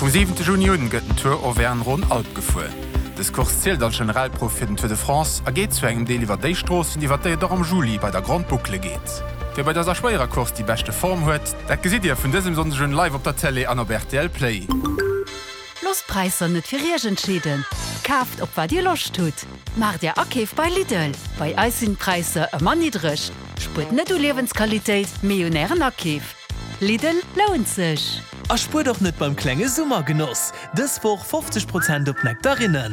Vum 7 Juni un gëtt den Tour Auvergne-Rhône-Alpes gefuer. Dës Course zielt als Generalprouf fir den Tour de France a geet zu engem Deel iwwer déi Stroossen, iwwer déi et och am Juli bei der Grande Boucle geet. Wie bei dëser schwéierer Course déi beschte Form huet, dat gesitt Dir vun dësem Sonndeg un live op der Télé an op rtl Play. Loosst d'Präisser net fir Iech entscheeden, kaaft op wat Dir Loscht hutt! Maacht Är Akeef bei Lidl, bei eis sinn d'Präisser ëmmer niddreg. Spuert net u Liewensqualitéit, mee un Ären Akeef. Lidl lount sech! A spuert och net beim klenge Summergenoss! Dës Woch 50 Prozent op Nektarinnen.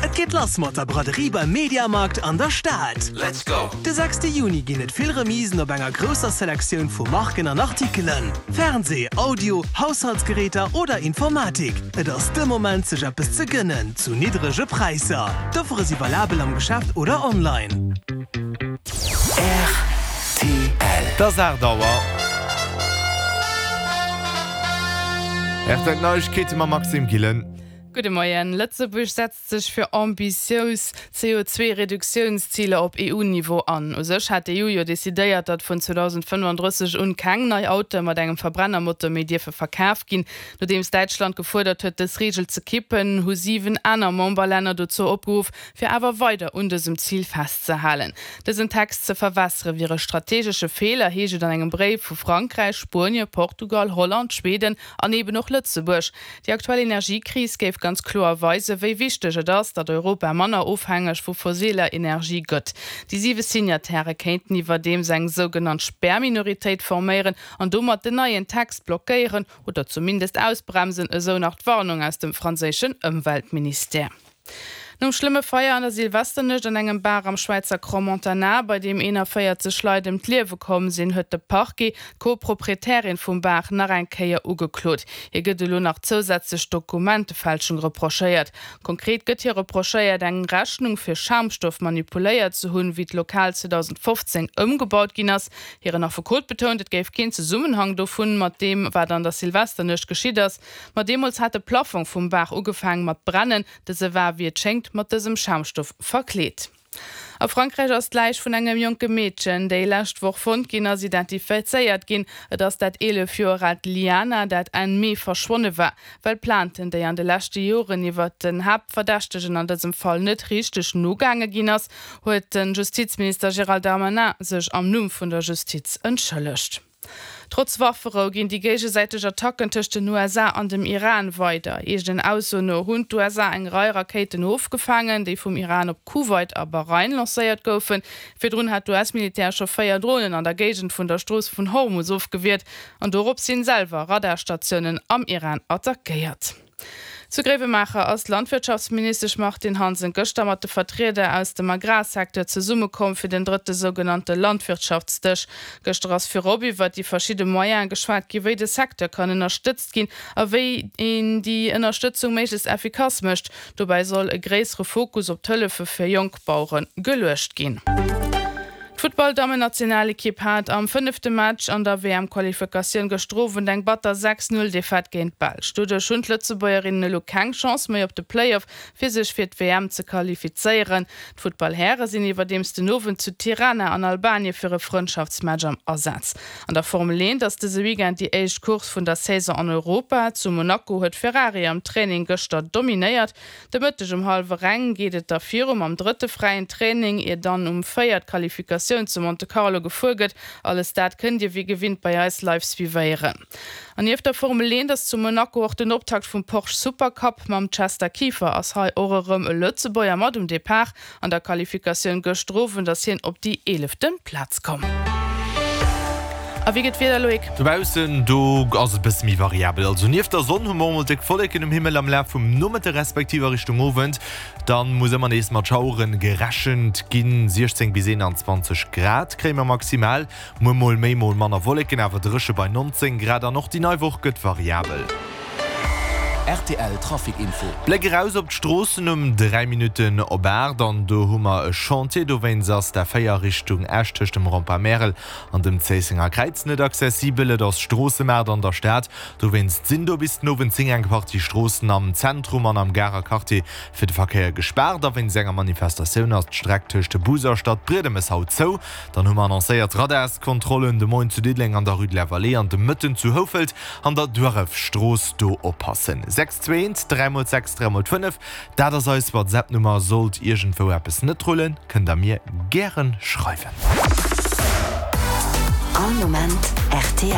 Et geet lass mat der Braderie beim Mediamarkt an der Stad. Let's go! De sechste Juni ginn et vill Remisen op enger grousser Selektioun vu Marken an Artikelen. Fernsee, Audio, Haushaltsgeräter oder Informatik, et ass de Moment sech eppes ze gënnen zu niddrege Präisser. D'Offere si valabel am Geschäft oder online. Rtl. Et ass 8 Auer. Rtl Neiegkeete mam Maxime Gillen. Gudde Moien. Lëtzebuerg setzt sech fir ambitious CO2-Reduktiounsziler op EU-Niveau an. U sech hat d'EU jo decidéiert, datt vun 2035 un keng nei Autoe mat engem Verbrennermotor méi dierfe verkaf ginn. Nodeems Däitschland gefuerdert huet, dës Reegel ze kippen, hu 7 aner Memberlänner dozou opgeruff, fir awer weider un dësem Zil festzehalen. Dësen Text ze verwässere wier e strategesche Feeler, heescht et an engem Bréif vu Frankräich, Spuenie, Portugal, Holland, Schweden an eben och Lëtzebuerg. Déi aktuell Energiekris géif ganz kloer weisen, wéi wichteg et ass, datt Europa manner ofhängeg vu fossiler Energie gëtt. Déi siwe Signatairë kéinten iwwerdeems eng sougenannt Spärminoritéit forméieren an domat den neien Text blockéieren oder zumindest ausbremsen, esou nach d'Warnung aus dem franséischen Ëmweltministère. Nom schlëmme Feier an der Silvesternuecht an engem Bar am Schwäizer Crans-Montana, bei deem 41 Leit ëm d'Liewe komm sinn, huet de Parquet d'Co-Proprietärin vum Bar nach eng Kéier ugeklot. Hir gëtt elo nach zousätzlech Dokumentefälschung reprochéiert. Konkret gëtt hir reprochéiert, eng Rechnung fir Schaumstoff manipuléiert ze hunn, wéi d'Lokal 2015 ëmgebaut ginn ass. Hiren Affekot betount, et géif keen Zesummenhang dovun mat deem, wat an der Silvesternuecht geschitt ass. Ma deemools hat de Plaffong vum Bar ugefaangen mat brennen. Dëse war, wéi et schéngt, mat dësem Schaumstoff verkleet. A Frankräich ass d'Läich vun engem jonke Meedchen, déi lescht Woch fonnt ginn ass, identifizéiert ginn. Et ass dat 11 Joer aalt Liana, dat Enn Mee verschwonne war. Well Plainten, déi an de leschte Joren iwwert den Haaptverdächtegen an dësem Fall net richteg nogaange ginn ass, huet de Justizminister Gérald Darmanin sech am Numm vun der Justiz entschëllegt. Trotz Wafferou ginn déi géigesäiteg Attacken tëscht den USA an dem Iran weider. Eegenen Aussoen no hunn d'USA eng Rei Rakéiten ofgefaangen, déi vum Iran op Kuwait a Bahrain lancéiert goufen. Virdrun hat d'US-Militär scho 4 Dronen an der Géigend vun der Strooss vun Hormus ofgewiert an dorops hin selwer Radarstatiounen am Iran attackéiert. Zu Gréiwemaacher ass d'Landwirtschaftsministesch Martine Hansen gëschter mat de Vertrieder aus dem Agrarsecteur zesummekomm fir den drëtte sougenannte Landwirtschaftsdësch. Gëschter ass virop iwwert déi verschidde Moyene geschwat gi wéi de Secteur kann ënnerstëtzt ginn a wéi een déi Ënnerstëtzung méiglechst effikass mécht. Dobäi soll e gréissere Fokus op d'Hëllefe fir jonk Bauere geluecht ginn. D'Futtball-Dammennationalekipp hat am fënnefte Match an der WM-Qualifikatioun gëschter Owend eng batter 6, 0 Defaite géint d'Belsch. Doduerch hunn d'Lëtzebuergerinnen elo keng Chance méi op de Playoff, fir sech fir d'WM ze qualifizéieren. D'Futtball-Häre sinn iwwerdeems den Owend zu Tirana an Albanien fir e Frëndschaftsmatch am Asaz. An der Formel 1 ass dëse Weekend déi éischt Course vun der Saison an Europa. Zu Monaco huet Ferrari am Training gëschter dominéiert. De Mëtteg um hallwer eng geet et da viru mam drëtte fräien Training, ier dann um 4 d'Qualifikatioun zu Monte Carlo gefuer gëtt. Alles dat kënnt Dir wéi gewinnt bei eis live suivéieren. An nieft der Formel 1 ass zu Monaco och den Optakt vum Porsche Supercup. Mam Chester Kieffer ass hei och erëm e Lëtzebuerger mat um Depart. An der Qualifikatioun gëschter Owend ass hien op déi eelefte Plaz komm. A wéi gëtt d'Wieder, Loïc? Dobaussen, do ass et e bësse méi variabel. Also nieft der Sonn hu mer och mol déck Wolleken um Himmel am Laf vum Nomëtte respektiv a Richtung Owend. Dann muss ëmmer nees mat Schauere gerechent ginn. 16 bis 21 Grad kréie mer maximal. Muer mol méi, mol manner Wolleken, awer dréche bei 19 Grad. An och déi nei Woch gëtt variabel. Rtl Trafic Info. Bléck eraus op d'Stroossen um 3 Minutten op 8 an do hu mer e Chantier. Dowéinst ass d'A4 Richtung Esch tëscht dem Rempart Märel an dem Zéissenger Kräiz net accessibel. Et ass Stroossemaart an der Stad, dowéinst sinn do bis den Owend 10 eng Partie Stroossen am Zentrum an am Garer Quartier fir de Verkéier gespaart. A wéinst enger Manifestatioun ass d'Streck tëscht Bus a Stadbriedemes haut zou. Dann hu mer annoncéiert Radarskontrollen de Moien zu Diddeleng an der Rue de la Vallée an de Mëtten zu Houfelt an der Duarrefstrooss. Do oppassen. 6 2 1 3 mol 6 3 mol 5, dat ass eis WhatsApp-Nummer. Sollt iergendwou eppes net rullen, kënnt der mir gären schreiwen. All Moment rtl.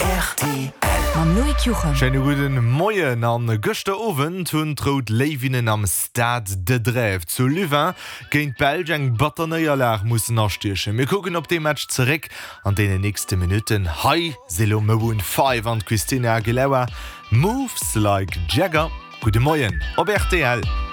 Rtl. Mam Loïc Juchem. Schéine gudden Moien. An gëschter Owend hunn d'Rout Léiwinnen am Stade de Drève zu Louvain géint d'Belsch eng batter Néierlag mussen astiechen. Mir kucken op dee Match zeréck an deenen nächste Minutten. Hei si lo Maroon 5 an d'Christina Aguilera, Moves Like Jagger. Gudde Moien op rtl.